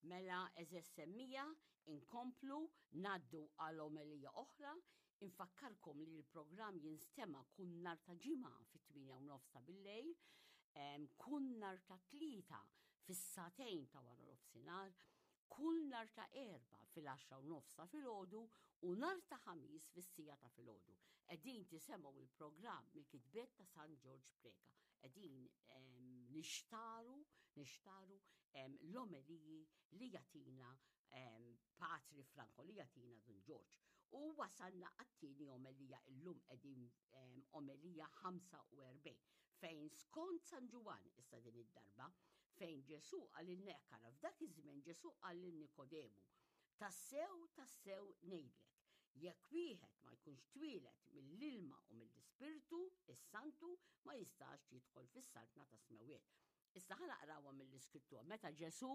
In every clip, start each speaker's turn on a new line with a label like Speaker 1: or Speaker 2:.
Speaker 1: Mela eżeż semmija, inkomplu ngħaddu għal omelija oħra, infakkarkom li l-programm jinstema' kull nhar ta' ġimgħa fit-8 u nofs ta' billejl, kull nhar ta' tlieta fis-sagħtejn ta' wara nofsinhar, kull nhar ta' erba' fil-10 u nofs ta' filgħodu u nhar ta' ħamis fis-sija ta' filgħodu. Qegħdin tisemgħu il-programm mill-kitbiet ta' San Ġorġ Preca. Qegħdin nixtaru, nixtaru l-omeliji li jatina Patri Franco li jatina Dun Ġorġ. U wasalna għat-tieni omelija illum qegħdin omelija 45 fejn skont San Ġwann issa din id-darba fejn Ġesu qal il-neqkara f'dak iż-żmien Ġesu qal lil Nikodemu Tassew, tassew ngħidlek, jekk wieħed ma jkunx twieled mill-ilma u mill-Ispirtu is-Santu ma jistax jidħol fis-saltna tas-smewwiet. Issa ħa naqrawha mill-Iskrittura. Meta Ġesu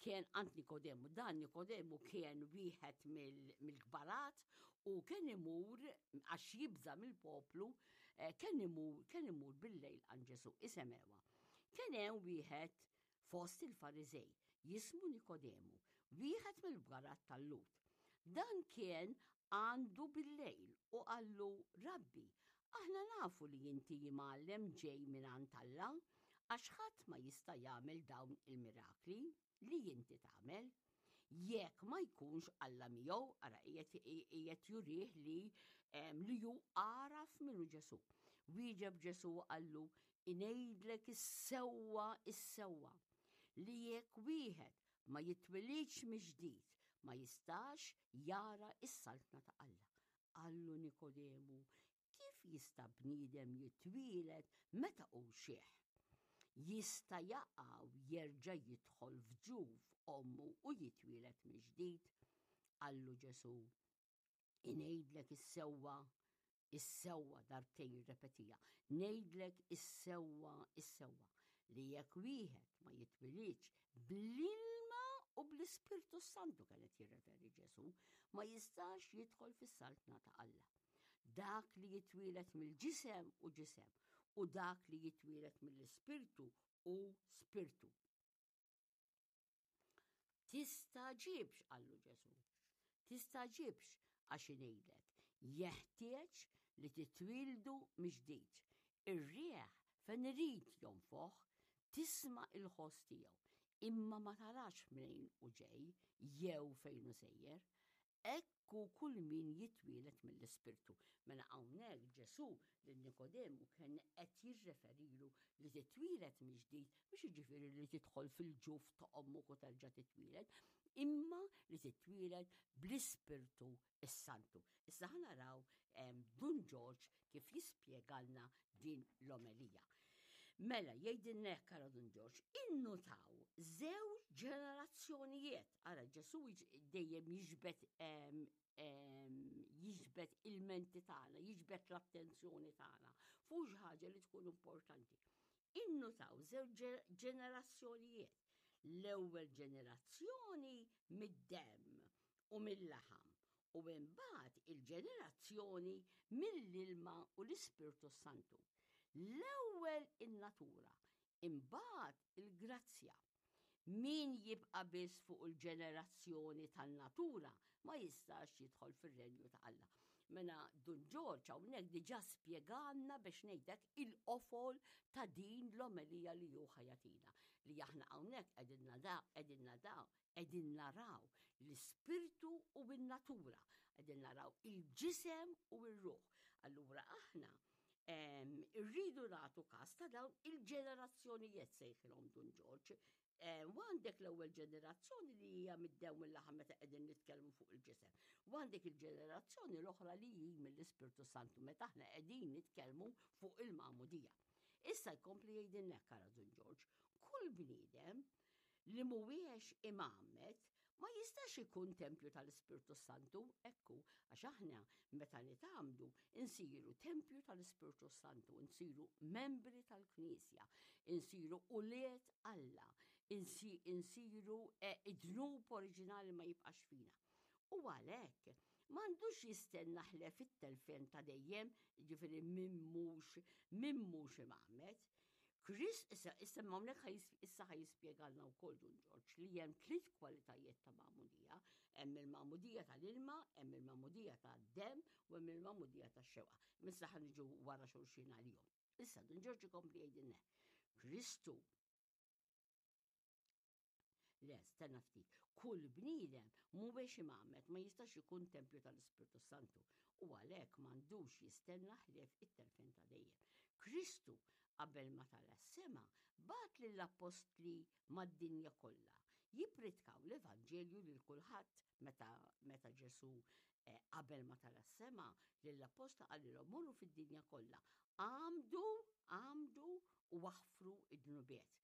Speaker 1: kien għand Nikodemu, dan Nikodemu kien wieħed mill-kbarat u kien imur għax jibża mill-poplu, eh, kien imur kien imur bil-lejl għand Ġesu. Isemewa. Kien hemm wieħed fost il-Fariżej jismu Nikodemu, wieħed mill-bgarat tal-Lut. Dan kien għandu bil-lejl u qallu, Rabbi, aħna nafu li inti imgħallem ġej minn għand Alla, għax ħadd ma jista' jagħmel dawn il-mirakli li inti tagħmel. Jekk ma jkunx Alla miegħu, ara qiegħed jurih li li hu għaraf minnu Ġesu. Wieġeb Ġesu qallu, ingħidlek is-sewwa is-sewwa li jekk wieħed ma jitwilidx mill-ġdid ma jistax jara s-saltna ta' Alla. Qallu Nikodemu, kif jista' bniedem jitwieled meta hu xiħ? Jista' jaqa' u jerġa' jidħol f'ġuf ommu u jitwieled mill-ġdid? Qallu Ġesù, ingħidlek is-sewwa Is-sewwa darbtejn jirrepetiha. Ngħidlek is-sewwa, is-sewwa, li jekk wieħed ma jitwilidx bl-ilma u bl-Ispirtu Santu kien qed jirreferi Ġesu, ma jistax jidħol fis-saltna ta' Alla. Dak li jitwieled mill-ġisem u ġisem, u dak li jitwieled mill-Ispirtu u spirtu. Tistagħġibx, qallu Ġesù. Tistagħġibx għax ingħidlek, jeħtieġ li titwieldu mill-ġdid. Ir-riħ fejn irid jonfoħ, tisma' il-ħoss tiegħu, imma ma tarax mnejn hu ġej jew fejn hu sejjer. Hekk hu kull min jitwieled mill-Ispirtu. Mela hawnhekk Ġesù lil Nikodemu kien qed jirreferilu li titwieled mill-ġdid mhux jiġifieri li tidħol fil-ġuf ta' ommok u terġa' titwieled, imma li titwieled bl-Ispirtu s-Santu. Issa ħa naraw Dun Ġorġ kif jispjegalna din l-omelija. Mela, jgħidilna hekk ara Dun Ġorġ, innutaw żewġ ġenerazzjonijiet. Ara Ġesu dejjem jiġbed jiġbed il-menti tagħna, jiġbed l-attenzjoni tagħna fuq xi ħaġa li tkun importanti. Innutaw żewġ ġenerazzjonijiet. L-ewwel ġenerazzjoni mid-demm u mill-laħam u imbagħad il-ġenerazzjoni mill-ilma u l-Ispirtu Santu. L-ewwel in-natura, imbagħad il-grazzja. Min jibqa' biss fuq il-ġenerazzjoni tan-natura ma jistax jidħol fir-renju ta' Alla. Mela Dun Ġorġ hawnhekk diġà spjegalna biex ngħidlek il-qofol ta' din l-omelija li hu ħajatina. Li aħna hawnhekk qegħdin nadaw, qegħdin nadaw, qegħdin naraw l-ispirtu u n-natura, qegħdin naraw il-ġisem u r-ruħ. Allura aħna irridu nagħtu każ ta' dawn il-ġenerazzjonijiet sejħilhom Dun Ġorġ. U għandek l-ewwel ġenerazzjoni li hija mid-dew mill-laħam meta qegħdin nitkellmu fuq il-ġisem. U għandek il-ġenerazzjoni l-oħra li hi mill-Ispirtu Santu meta aħna qegħdin nitkellmu fuq il-magħmudija. Issa jkompli jgħidilna hekk ara Dun Ġorġ, kull bniedem li mhuwiex imgħammed ma jistax ikun tempju tal-Ispirtu Santu, ekku, għax aħna meta nitgħammdu insiru tempju tal-Ispirtu Santu, insiru membri tal-Knisja, insiru ulied Alla, insiru eh, id-dnub oriġinali ma jibqax fina. U għalhekk m'għandux jistenna ħlef it-telfien ta' dejjem, ġifieri min mhux min mhux imgħammed. Chris, issa, issa hawnhekk issa ħa jispjegalna wkoll Dun Ġorġ li hemm tliet kwalitajiet ta' magħmudija. Hemm il-magħmudija tal-ilma, hemm il-magħmudija tad-demm u hemm il-magħmudija tax-xewqa. Issa ħa niġu wara xulxin għalihom. Issa Dun Ġorġ ikompli jgħidilna Kristu Le, stenna ftit. Kull bniedem mhuwiex imgħammed ma jistax ikun tempju tal-Ispirtu Santu u għalhekk m'għandux jistenna ħlief it-telfien ta' dejjem. Kristu qabel ma tala' s-sema bagħat lill-appostli mad-dinja kollha jippritkaw l-Evanġelju lil kulħadd meta meta Ġesù eh, qabel ma tala' s-sema lill-appostli qalilhom morru fid-dinja kollha għamdu għamdu u aħfru id-dnubiet.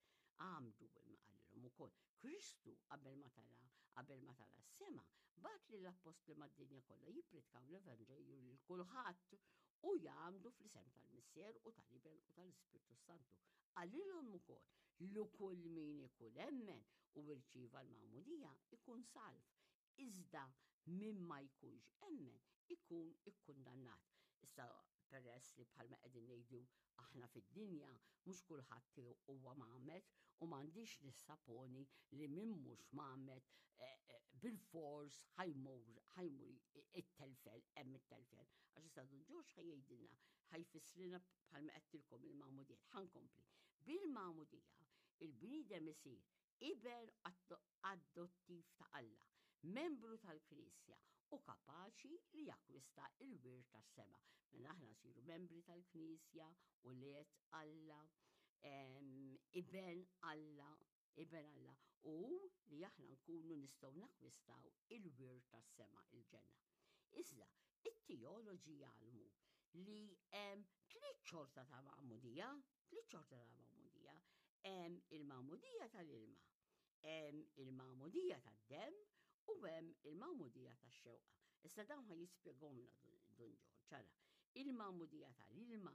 Speaker 1: Għamdu imma qalilhom ukoll. Kristu qabel ma tala qabel ma tala s-sema bagħat lill-appostli mad-dinja kollha jippritkaw l-Evanġelju lil kulħadd u jgħammdu fl-isem tal-Missier u tal-Iben u tal-Ispirtu Santu. Qalilhom ukoll li kull min ikun emmen u rċieva l-magħmudija ikun salv, iżda min ma jkunx emmen ikun ikkundannat. Issa peress li bħalma qegħdin ngħidu aħna fid-dinja mhux kulħadd huwa mgħammed u m'għandix nissaponi li min mhux mgħammed eh, eh, bil-fors ħa jmur ħa jmur it-telfel hemm it-telfel. Għax issa Dun Ġorġ ħa jgħidilna ħa jfissrilna bħalma għedtilkom il-magħmudija. Ħa nkompli. Bil-magħmudija il-bniedem isir iben adottiv ta' Alla, membru tal-Knisja u kapaċi li jakkwista il-wirt tas-sema. Mela aħna nsiru membri tal-Knisja, ulied Alla, iben Alla, iben Alla, u li aħna nkunu nistgħu nakkwistaw il-wirt tas-sema, il-ġenna. Iżda, it-teoloġi jgħallmu li hemm tliet xorta ta' magħmudija, tliet xorta ta' magħmudija, hemm il-magħmudija tal-ilma, hemm il-magħmudija tad-demm u hemm il-magħmudija tax-xewqa. Issa dawn ħa jispjegahomlna Dun Ġorġ. Ara, il-magħmudija tal-ilma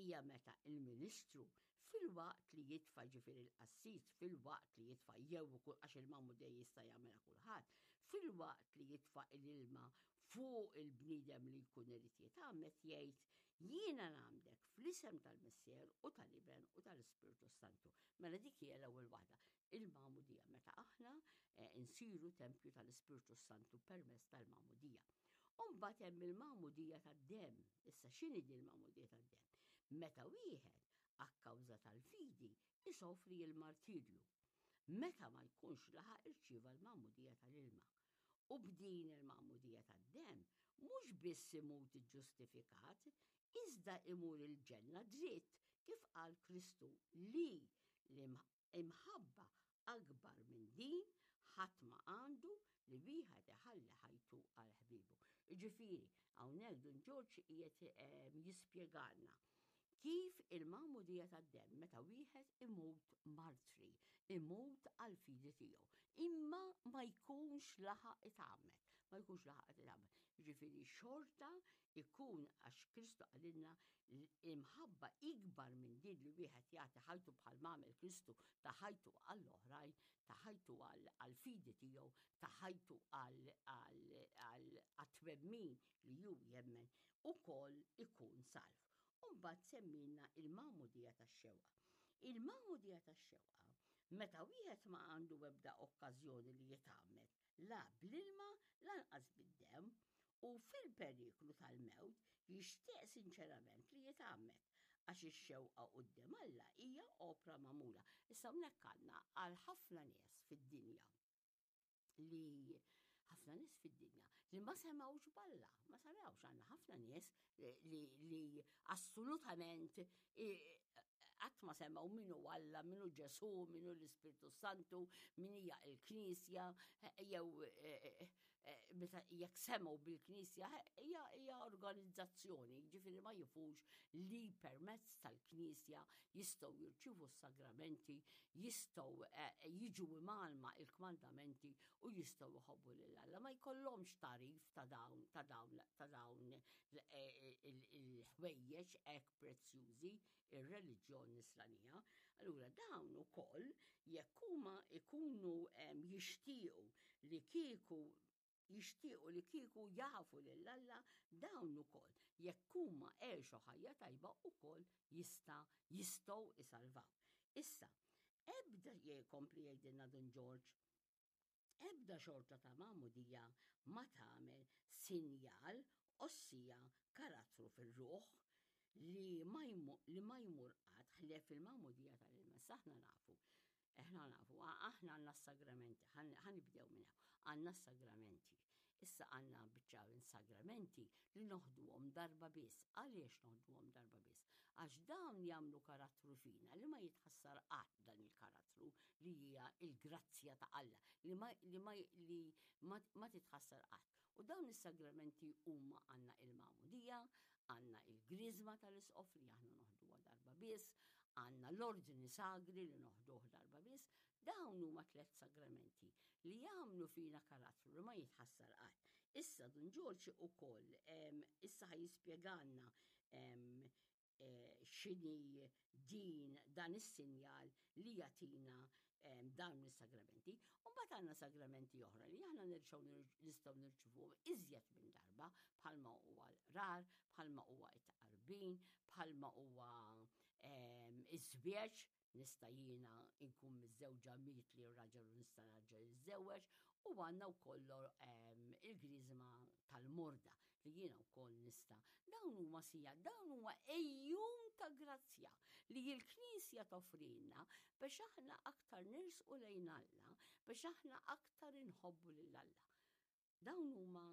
Speaker 1: hija meta il-ministru filwaqt li jitfa' ġifieri l-qassis filwaqt li jitfa' jew ukoll għax il-magħmudija jista' jagħmilha kulħadd, filwaqt li jitfa' l-ilma fuq il-bniedem li jkun irid jitgħammed jgħid jiena ngħammdek fl-isem tal-Missier u tal-Iben u tal-Ispirtu Santu. Mela dik hija l-ewwel waħda, il-magħmudija meta aħna eh, nsiru tempju tal-Ispirtu Santu permezz tal-magħmudija. Umbagħad hemm il-magħmudija tad-demm. Issa x'inhi din il-magħmudija tad-demm? Meta wieħed akkawża tal-fidi isofri l-martirju. Meta ma jkunx laħaq irċieva l-magħmudija tal-ilma. U b'din il-magħmudija tad-demm mhux biss imut iġġustifikat, iżda imur il-ġenna dritt kif qal Kristu li l-imħabba akbar minn din ħadd ma għandu li wieħed iħalli ħajtu għal ħbiebu. Jiġifieri, hawnhekk Dun Ġorġ qiegħed ehm, jispjegalna kif il-magħmudija tad-demm meta wieħed imut martri, imut għal fidi tiegħu, imma ma jkunx laħaq itgħammed, ma jkunx laħaq itgħammed. Jiġifieri xorta ikun għax Kristu qalilna imħabba ikbar minn din li wieħed jagħti ħajtu bħal m'għamel Kristu ta ħajtu għall-oħrajn, ta ħajtu għall-fidi tiegħu, ta ħajtu għat-twemmin li hu jemmen, ukoll ikun salv. U mbagħad semmilna il-magħmudija tax-xewqa. Il-magħmudija tax-xewqa meta wieħed ma għandu ebda okkażjoni li jitgħammed la bl-ilma lanqas bid-demm u fil-periklu tal-mewt jixtieq sinċerament li jitgħammed għax ix-xewqa quddiem Alla hija opra magħmula. Issa hawnhekk għandna għal ħafna nies fid-dinja li ħafna nies fid-dinja li ma semgħux b'Alla, ma semgħux għandna ħafna nies li, li assolutament qatt ma semgħu min hu Alla, min hu Ġesù, min hu l-Ispirtu Santu, min hija l-Knisja, jew meta jekk semgħu bil-Knisja hija hija organizzazzjoni, jiġifieri ma jifux li permezz tal-Knisja jistgħu jirċievu s-sagramenti, jistgħu eh, jiġu imgħallma il-kmandamenti u jistgħu jħobbu lil Alla. Ma jkollhomx tagħrif ta' dawn ta' dawn ta' dawn eh, il-ħwejjeġ hekk prezzjużi ir-reliġjon nisranija. Allura dawn ukoll jekk huma ikunu jixtiequ li kieku jixtiequ li kieku jafu lil Alla dawn ukoll jekk huma għexu ħajja tajba ukoll jista' jistgħu isalvaw. Issa, ebda jkompli jgħidilna Dun Ġorġ, ebda xorta ta' magħmudija ma tagħmel sinjal ossija karattru fir-ruħ li ma li ma jmur qatt ħlief il-magħmudija tal-ilma. Issa aħna nafu, aħna nafu, aħna għandna s-sagramenti, ħa nibdew minn hawn, għandna s-sagramenti. Issa għandna biċċa minn sagramenti li noħduhom darba biss. Għaliex noħduhom darba biss? Għax dawn jagħmlu karattru fina li ma jitħassar qatt dan il-karattru li hija l-grazzja ta' Alla li ma li ma li ma, ma titħassar qatt. U dawn is-sagramenti huma għandna il-magħmudija, għandna il-griżma tal-isqof li aħna noħduha darba biss, għandna l-ordni sagri li noħduh darba biss, dawn huma tlett sagramenti li jagħmlu fina karattru li ma jitħassar qatt. Issa Dun Ġorġ ukoll issa ħa jispjegalna eh, x'inhi din dan is-sinjal li jagħtina dawn is-sagramenti. U mbagħad għandna sagramenti oħra li aħna nerġgħu nistgħu nirċivuhom iżjed minn darba bħalma huwa l-qrar, bħalma huwa t-tqarbin, bħalma huwa iż-żwieġ Nista' jiena nkun miżżewġa mietli r-raġel u nista' nerġa' niżżewweġ u għandna wkoll ehm, il-griżma tal-morda li jiena wkoll nista'. Dawn huma sija, dawn huma ejjun ta' grazzja li l-Knisja toffrilna biex aħna aktar nersqu lejn Alla, biex aħna aktar inħobbu lil Alla. Dawn huma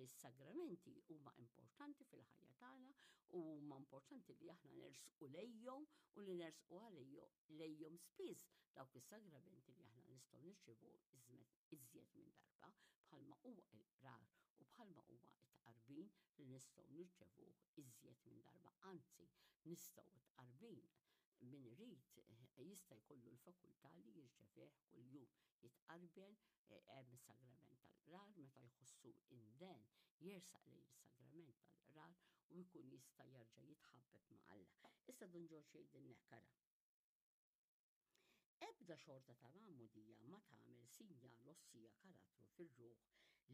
Speaker 1: s-sagramenti huma importanti fil-ħajja tagħna u huma importanti li aħna nersqu lejhom u li nersqu lejhom spiss dawk is-sagramenti li aħna nistgħu nirċievu iżjed minn darba bħalma huwa il-qrar u bħalma huwa t-tqarbin li nistgħu nirċevuh iżjed minn darba, anzi nistgħu t-tqarbin min irid jista' jkollu l-fakultà li jirċevih kuljum, jitqarben Hemm is-sagrament tal-qrar meta jħossu inden jersaq lejn is-sagrament tal-qrar u jkun jista' jerġa' jitħabbeb ma' Alla. Issa Dun Ġorġ jgħidilna hekk ara. Ebda xorta ta' magħmudija ma tagħmel sinjal ossija karattru fir-ruħ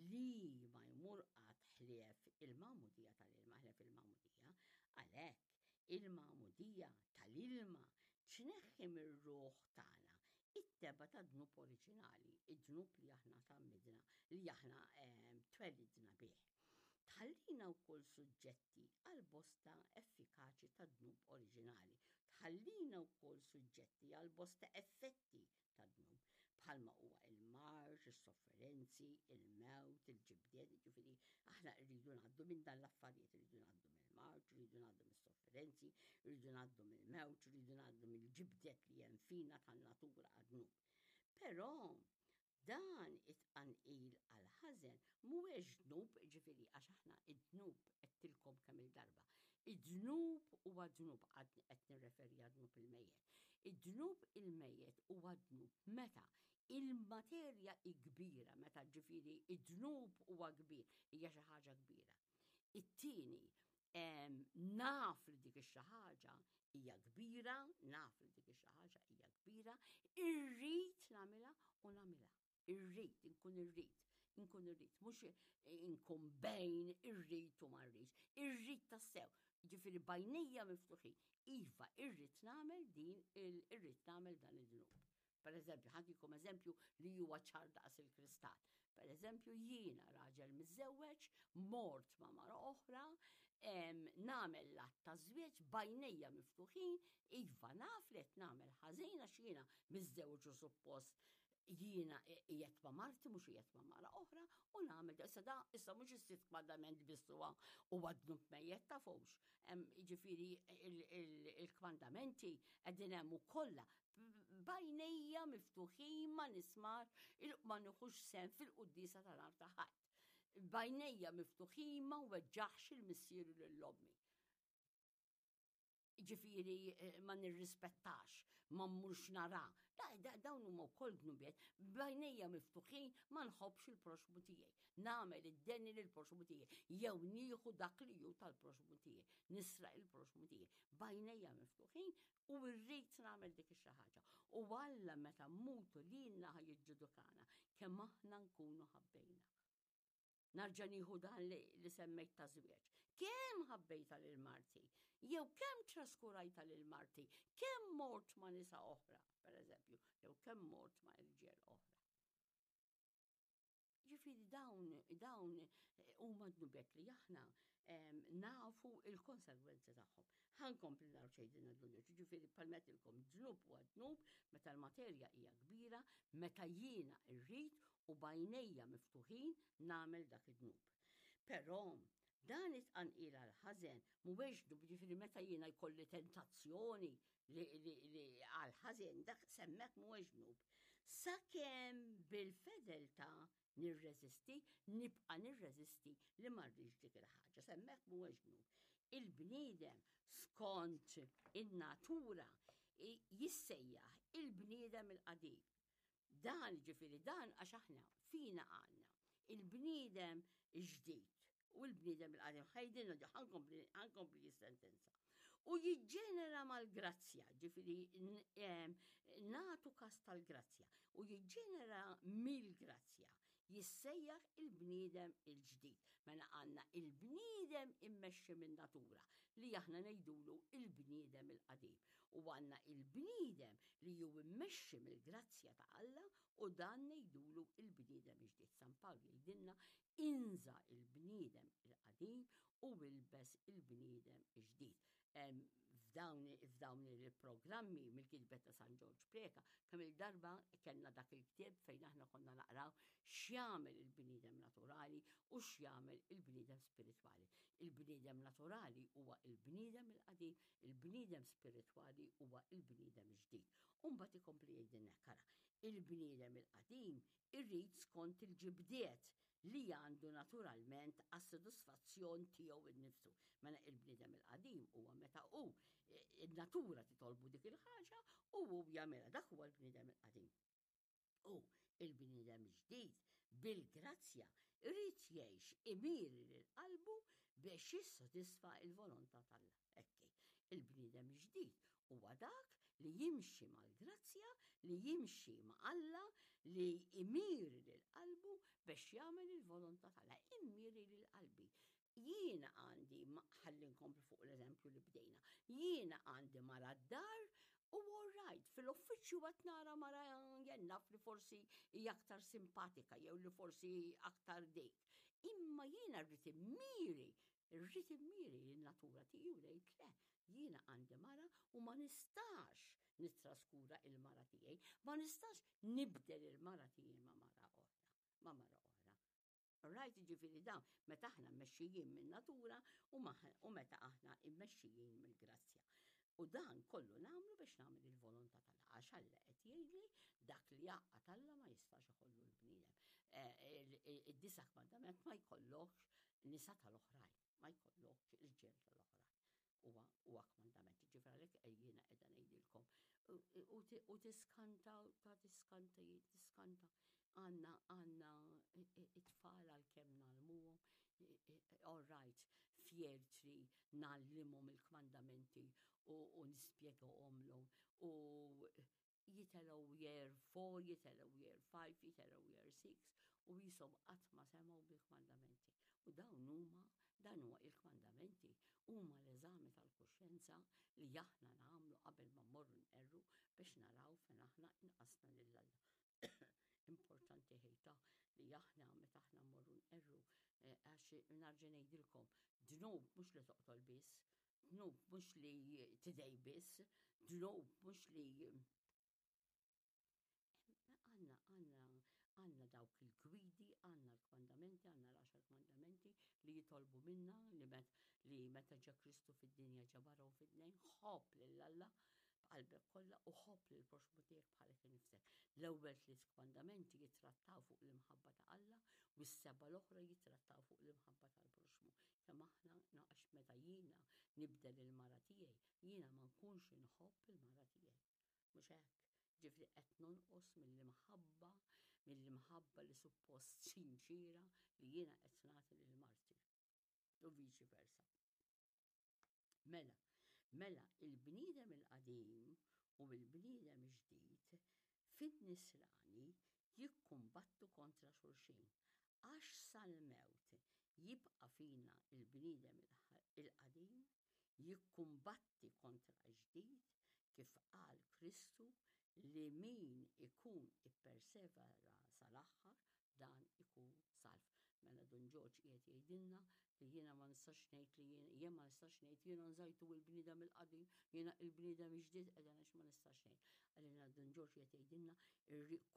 Speaker 1: li ma jmur qatt ħlief il-magħmudija tal-ilma, ħlief il-magħmudija. Għalhekk, il-magħmudija tal-ilma tneħħi mir-ruħ tagħna it-tebgħa tad-dnub oriġinali, id-dnub li aħna tgħammidna, li aħna ehm, twelidna bih. Tħallina wkoll suġġetti għal bosta effikaċi tad-dnub oriġinali. Tħallina wkoll suġġetti għal bosta effetti tad-dnub, bħalma huwa il-marġ, is-sofferenzi, il-mewt, il-ġibdiet, ġifieri aħna rridu ngħaddu minn dan l-affarijiet, rridu ngħaddu mill-marġ, rridu ngħaddu mis-sofferenzi. Renzi, rridu ngħaddu mill-mewt, rridu ngħaddu mill-ġibdet li hemm fina tan-natura għad-dnub. Però dan it-tqanqil għal ħażen mhuwiex dnub, ġifieri għax aħna id-dnub għedtilkom kemm il-darba. Id-dnub huwa dnub qed nirreferi għad-dnub il-mejjet. Id-dnub il-mejjet huwa dnub meta il-materja hi kbira, meta ġifieri id-dnub huwa kbir, hija xi ħaġa kbira. It-tieni, naf li dik ix-xi ħaġa hija kbira, naf li dik ix-xi ħaġa hija kbira, irrid nagħmilha u nagħmilha. Irrid, inkun irrid, inkun irrid, mhux inkun bejn irrid u ma rridx, irrid tassew. Ġifieri bajnejja miftuħin. Iva, irrid nagħmel din irrid nagħmel dan id-dnub. Per eżempju, ħantikom eżempju li huwa ċar daqs il-kristall. Per eżempju, jiena raġel miżżewweġ, mort ma' mara oħra, nagħmel l-att ta' żwieġ bajnejja miftuħin, iva naf li qed nagħmel ħażin għax jiena miżżewweġ u suppost jiena qiegħed ma' marti mhux qiegħed ma' mara oħra u nagħmel issa da issa mhux is-sitt kmandament biss huwa huwa dnub mejjet tafux. Jiġifieri il-kmandamenti qegħdin hemm ukollha b'għajnejja miftuħin ma nismax ma nieħux sehem fil-quddiesa ta' nhar ta' Ħadd. B'għajnejja miftuħin ma nweġġaħx il-missieri lil ommi. Ġifieri eh, ma nirrispettax, ma mmurx nara. Dawn huma wkoll dnubiet, b'għajnejja miftuħin ma nħobbx il-proxmu tiegħi. Nagħmel id-deni lil proxmu tiegħi jew nieħu dak li hu tal-proxmu tiegħi, nisraq il-proxmu tiegħi. B'għajnejja miftuħin U rrid nagħmel dik ix-xi ħaġa. U Alla meta mmutu lilna ħa jiġġudikana kemm aħna nkunu ħabbejna. Narġa' nieħu dan li, li semmejt ta' żwieġ. Kemm ħabbejta lil marti? Jew kemm traskurajta lil marti, kemm mort ma' nisa oħra, per eżempju, jew kemm mort ma' irġiel oħra. Ġifieri dawn dawn eh, huma dnubiet li aħna nafu il-konsegwenzi tagħhom. Ħankompli naraw xejdin dnubiet, ġifieri palmetilkom dnub huwa dnub meta l-materja hija kbira, meta jiena rrid u bajnejja miftuħin nagħmel dak id-dnub. Però dan it-tqanqil għal ħażen mhuwiex dnub, ġifieri meta jiena jkolli tentazzjoni li, li, li għal ħażen dak semmek mhuwiex dnub. Sakemm bil-fedeltà nirreżisti, nibqa' nirreżisti li ma rridx dik il-ħaġa. Semmek mhuwiex dnub. Il-bniedem skont in-natura jissejjaħ il-bniedem il-qadim. Dan ġifieri dan għax aħna fina għandna il-bniedem ġdid u l-bniedem il-qadim ħajdinna ħankompli sentenza. U jiġġenera mal-grazzja, ġifieri natu kas tal-grazzja, u jiġġenera mill-grazzja, jissejjaħ il-bniedem il-ġdid. Mela għandna il-bniedem immexxi minn natura li aħna ngħidulu il-bniedem il-qadim. U għandna il-bniedem li ju immexxi mill-grazzja ta' Alla u dan ngħidulu il-bniedem il-ġdid. San Pawl jgħidilna inża il-bniedem il-qadim u ilbes il-bniedem il-ġdid. F'dawn il-programmi mill-kitbet ta' San Ġorġ Preca, kemm il-darba kellna dak il-ktieb fejn aħna konna naqraw x'jagħmel il-bniedem naturali u x'jagħmel il-bniedem spiritwali. Il-bniedem naturali huwa il-bniedem il-qadim, il-bniedem spiritwali huwa il-bniedem ġdid. U mbagħad ikompli jgħidilna hekk, ara, il-bniedem il-qadim irrid skont il-ġibdiet li għandu naturalment għas-sodisfazzjon tiegħu innifsu. Mela il-bniedem il-qadim huwa meta hu in-natura titolbu dik il-ħaġa u hu jagħmilha. Dak huwa l-bniedem il-qadim. U il-bniedem ġdid bil-grazzja irid jgħix imiri lil qalbu biex jissodisfa il-volontà t'Alla. Ekki, il-bniedem ġdid huwa dak li jimxi mal-grazzja, li jimxi ma' Alla, li imiri lil qalbu biex jagħmel il-volontà t'Alla. Immiri lil qalbi. Jiena għandi, ħalli nkomplu fuq l-eżempju li bdejna, jiena għandi mara d-dar u all right, fil-uffiċċju qed nara mara jennaf li forsi hija aktar simpatika jew li forsi aktar dik. Imma jiena rrid immiri, rrid immiri l-natura tiegħi u ngħid le, jiena għandi mara u ma nistax nittraskura il-mara tiegħi, ma nistax nibdel il-mara tiegħi ma' mara oħra, ma' mara oħra. Right, ġifieri dawn, meta aħna mmexxijin min-natura u meta aħna mmexxijin mill-grazzja. U dan kollu nagħmlu biex nagħmel il-volontà tal għax Alla qed jgħidli dak li jgħaqqad Alla ma jistax ikollu l-bniedem. Eh, id-disa kmandament ma jkollokx nisa tal-oħrajn, ma jkollokx irġiel tal-oħrajn. Huwa huwa kmandament. Ġifieri għalhekk jiena qiegħda ngħidilkom. U tiskanta, ta' tiskanta, tiskanta. Għandna għandna it-tfal għalkemm ngħallmuhom, all right, fjertri ngħallimhom il-kmandamenti u nispjegahomlhom u jitelgħu year 4, jitelgħu year 5, jitelgħu year 6 u jisom qatt ma semgħu bil-kmandamenti. U dawn huma, dan huwa il-kmandamenti, huma l-eżami tal-kuxjenza li aħna nagħmlu qabel ma mmorru nqerru biex naraw fejn aħna inqasna lil Alla. Importanti ħejta li aħna meta aħna mmorru nqerru eh, għax narġa' ngħidilkom, dnub mhux li toqtol biss, Dnub mhux li tidej biss, dnub mhux li għanna għanna għanna dawk il-gwidi, għanna l-kmandamenti, għanna l-għaxar kmandamenti li jitolbu minna li, met, li meta ġa Kristu fid-dinja ġabarhom fid-dnejn, ħobb lil Alla b'qalbek kollha u ħobb lil proxmu tiegħek bħalek innifsek. L-ewwel tliet kmandamenti jittrattaw fuq l-imħabba ta' Alla u s-seba' l-oħra jittrattaw fuq l-imħabba tal-proxmu. Kemm aħna għax meta jiena nibdel il-mara tiegħi, jiena ma nkunx inħobb il-mara tiegħi. Mhux hekk? Ġifieri qed nonqos mill-imħabba, mill-imħabba li suppost sinċira li jiena qed nagħti lil marti. U viċi versa. Mela, mela il-bniedem il-qadim u il-bniedem ġdid fin-nisrani jikkumbattu kontra xulxin għax sal-mewt jibqa' fina il-bniedem il-qadim. jikkumbatti kontra l-ġdid kif qal Kristu li min ikun ippersevera sal-aħħar dan ikun salv. Mela Dun Ġorġ qiegħed jgħidilna li jiena ma nistax ngħid li jien jien ma nistax ngħid jiena nżajtu il-bniedem il-qadim, jiena il-bniedem il-ġdid qiegħda għax ma nistax ngħid. Għalina Dun Ġorġ qiegħed jgħidilna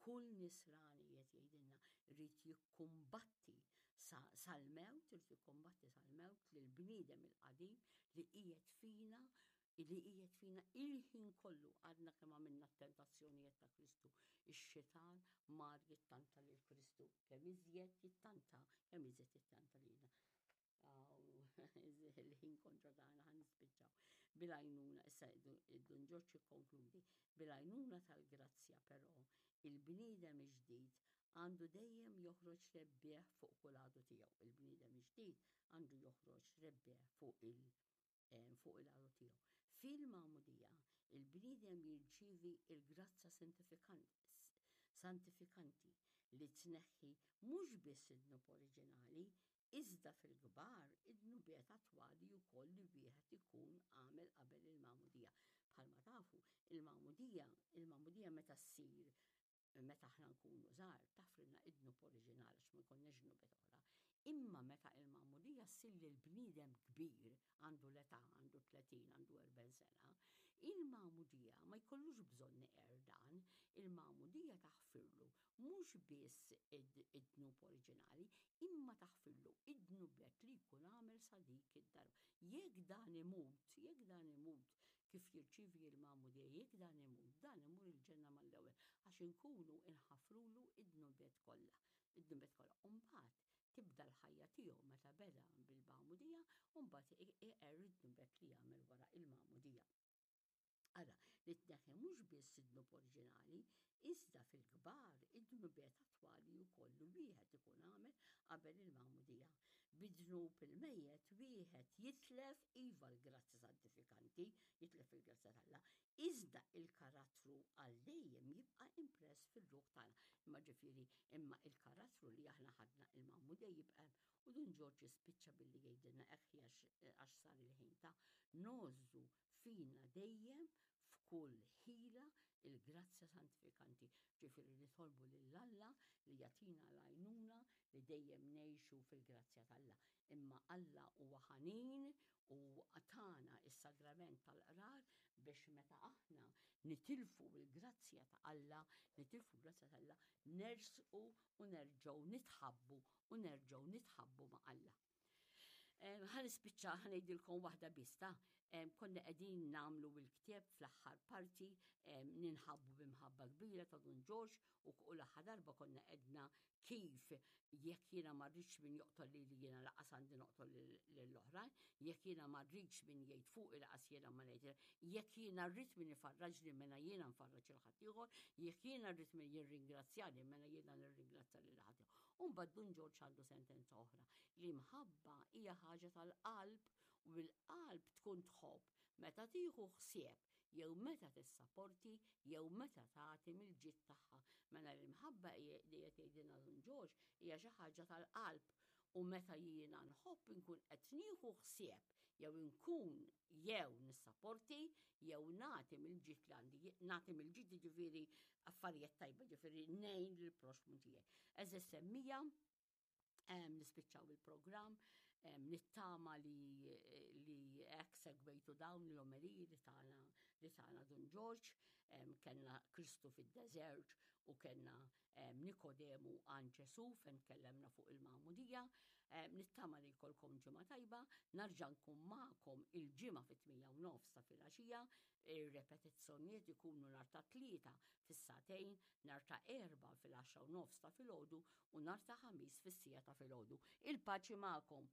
Speaker 1: kull nisrani qiegħed jgħidilna rrid jikkumbatti sal-mewt, irid jikkumbatti sal-mewt lil bniedem il-qadim li qiegħed fina li qiegħed fina il-ħin kollu għadna kemm għamilna t-tentazzjonijiet ta' Kristu. Ix-xitan mar jittanta lil Kristu, kemm iżjed jittanta, kemm iżjed jittanta lilna. Il-ħin kontra tagħna ħa nispiċċaw. Bil-għajnuna, issa Dun Ġorġ jikkonkludi, bil-għajnuna tal-grazzja però, il-bniedem ġdid għandu dejjem joħroġ rebbieħ fuq kull għadu tiegħu. Il-bniedem ġdid għandu joħroġ rebbieħ fuq il- fuq il-għadu tiegħu. Fil-magħmudija, il-bniedem jirċievi il-grazzja santifikanti li tneħħi mhux biss id-dnub oriġinali, iżda fil-kbar id-dnubiet attwali wkoll li wieħed ikun għamel qabel il-magħmudija. Bħalma tafu, il-magħmudija, il-magħmudija meta ssir meta aħna nkunu żgħar taħfrilna id-dnub oriġinali għax ma jkollniex dnubiet oħra. Imma meta il-magħmudija ssir lil bniedem kbir għandu l-età, għandu 30, għandu 40 sena, il-magħmudija ma jkollux bżonn iqer dan, il-magħmudija taħfirlu mhux biss id-dnub oriġinali, imma taħfirlu id-dnubiet li jkun għamel sa dik id-darba. Jekk dan imut, jekk dan imut kif jirċievi l-magħmudija, jekk dan imut, dan imur il-ġenna mal-ewwel għax inkunu inħafrulu id-dnubiet kollha. Id-dnubiet kollha. U mbagħad tibda l-ħajja tiegħu meta beda bil-magħmudija u mbagħad iqer id-dnubiet li jagħmel wara il-magħmudija. Ara, li tneħħi mhux biss id-dnub oriġinali, iżda fil-kbar id-dnubiet attwali wkoll li wieħed ikun għamel qabel il-magħmudija. Bid-dnub il-mejjet wieħed jitlef iva l-grazzja santifikanti, jitlef il-grazzja t'Alla, iżda il-karattru għal dejjem jibqa' impress fir-ruħ tagħna. Imma ġifieri, imma il-karattru li aħna ħadna il-magħmudija jibqa' hemm. U Dun Ġorġ jispiċċa billi jgħidilna hekk għax sar il-ħin ta' ngħożżu fina dejjem f'kull ħila il-grazzja santifikanti. Ġifieri nitolbu lil Alla li jagħtina l-għajnuna li dejjem ngħixu fil-grazzja t'Alla. Imma Alla huwa ħanin u tana is-sagrament tal-qrar biex meta aħna nitilfu l-grazzja ta' Alla, nitilfu l-grazzja ta' Alla, nersqu u nerġgħu nitħabbu u nerġgħu nitħabbu ma' Alla. Ħa nispiċċa ħa ngħidilkom waħda biss ta' konna qegħdin nagħmlu l-ktieb fl-aħħar parti ninħabbu b'imħabba kbira ta' Dun Ġorġ u l-aħħar darba konna qedna kif jekk jiena ma rridx min joqtol lili jiena laqas għandi noqtol lill-oħrajn, jekk jiena ma rridx min jgħid fuqi laqas jiena ma ngħid, jekk jiena rrid min ifarraġni mela jiena nfarraġ il ħaddieħor, jekk jiena rrid min jirringrazzjani mela jiena nirringrazzja lil ħaddieħor. U mbagħad Dun Ġorġ għandu sentenza oħra li mħabba hija ħaġa tal-qalb u l-qalb tkun tħobb meta tieħu ħsieb jew meta tissaporti jew meta tagħti mill-ġid tagħha. Mela l-imħabba li qed jgħidilna Dun Ġorġ hija xi ħaġa tal-qalb u meta jiena nħobb inkun qed nieħu ħsieb jew inkun jew nissaporti jew nagħti mill-ġid li għandi, nagħti mill-ġid jiġifieri affarijiet tajba, ġifieri ngħin lill-proxmu tiegħi. Eżis semmija nispiċċaw il-programm, nittama li li hekk segwejtu dawn l-omeliji li tana li tana Dun Ġorġ, kellna Kristu fid-deżert u kellna Nikodemu għand Ġesu fejn tkellemna fuq il-magħmudija. Nittama li jkollkom ġimgħa tajba, narġa' nkun magħkom il-ġimgħa fit-8 u nofs ta' filgħaxija, ir-repetizzjonijiet ikunu nhar ta' Tlieta fis-sagħtejn, nhar ta' Erbgħa fil-10 u nofs ta' filgħodu u nhar ta' Ħamis fis-siegħa ta' filgħodu. Il-paċi magħkom!